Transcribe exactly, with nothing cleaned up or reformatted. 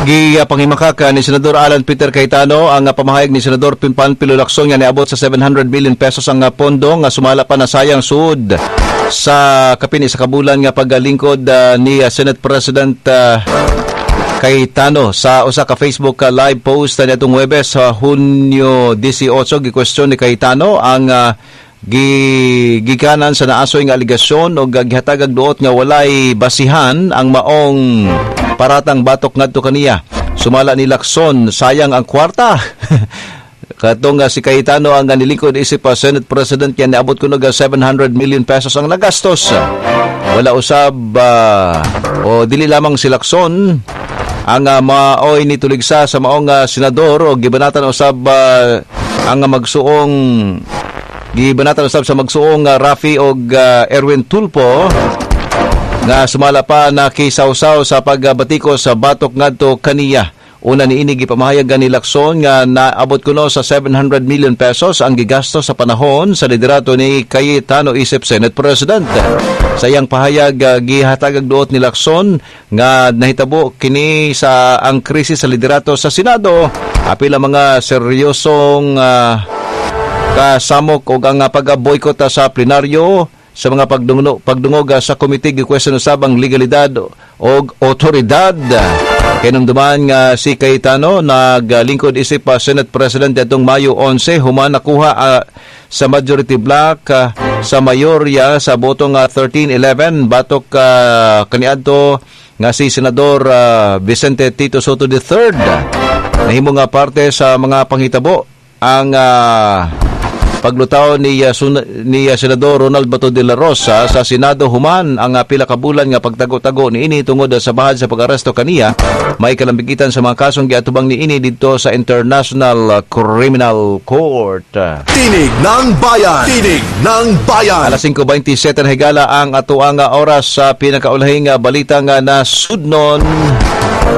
Gipanghimakak ni Senador Alan Peter Cayetano ang uh, pamahayag ni Senador Panfilo Lacson nga niabot sa seven hundred million pesos ang uh, pondo nga sumala pa nasayang sud sa kapin sa kabulan nga pagalingkod uh, ni uh, Senate President uh, Cayetano. Sa usa ka Facebook uh, live post uh, niadtong Huwebes sa Hunyo eighteen, gikwestiyon ni Cayetano ang uh, gi gikanan sa naasoy nga alegasyon og uh, gihatagag duot nga walay basihan ang maong paratang batok ngadto kaniya. Sumala ni Lacson, sayang ang kwarta. Katong uh, si Cayetano ang nilingkod isip pa Senate President kaya niabot kuno ga seven hundred million pesos ang nagastos. Wala usab uh, o dili lamang si Lacson ang uh, maoy ni tuligsa sa maong uh, senador o gibanatan usab uh, ang magsuong gibanatan usab sa magsuong uh, Raffy og uh, Erwin Tulfo nga sumala pa nakisawsaw sa pagbatiko sa batok ngadto kaniya. Una niini, gipamahayag ni Lacson nga naabot kuno sa seven hundred million pesos ang gigasto sa panahon sa liderato ni Cayetano isip Senate President. Sa iyang pahayag, uh, gihatagag duot ni Lacson nga nahitabo kini sa ang krisis sa liderato sa Senado apil ang mga seryosong uh, kasamok og ang pag-boycott sa plenaryo sa mga pagdungog, pagdungog sa komite. Gikwestiyon usab ang legalidad og otoridad. Kinumduman nga si Cayetano naglingkod isip pa Senate President adtong Mayo labing-onse human nakuha uh, sa majority block uh, sa mayorya sa botong uh, thirteen eleven batok uh, kaniadto nga si Senador uh, Vicente Tito Sotto the Third. Nahimo nga parte sa mga panghitabo ang uh, paglutaw ni uh, sun- ni uh, Senador Ronald Bato de la Rosa sa Senado human ang uh, pila ka bulan nga pagtago-tago niini tungod sa bahad sa pag-aresto kaniya may kalambigitan sa mga kasong giatubang niini didto sa International Criminal Court. Tinig ng Bayan! Tinig ng Bayan! Alas singko bente-siyete na higala ang atoang oras sa pinakaulahing balita nga nasudnon.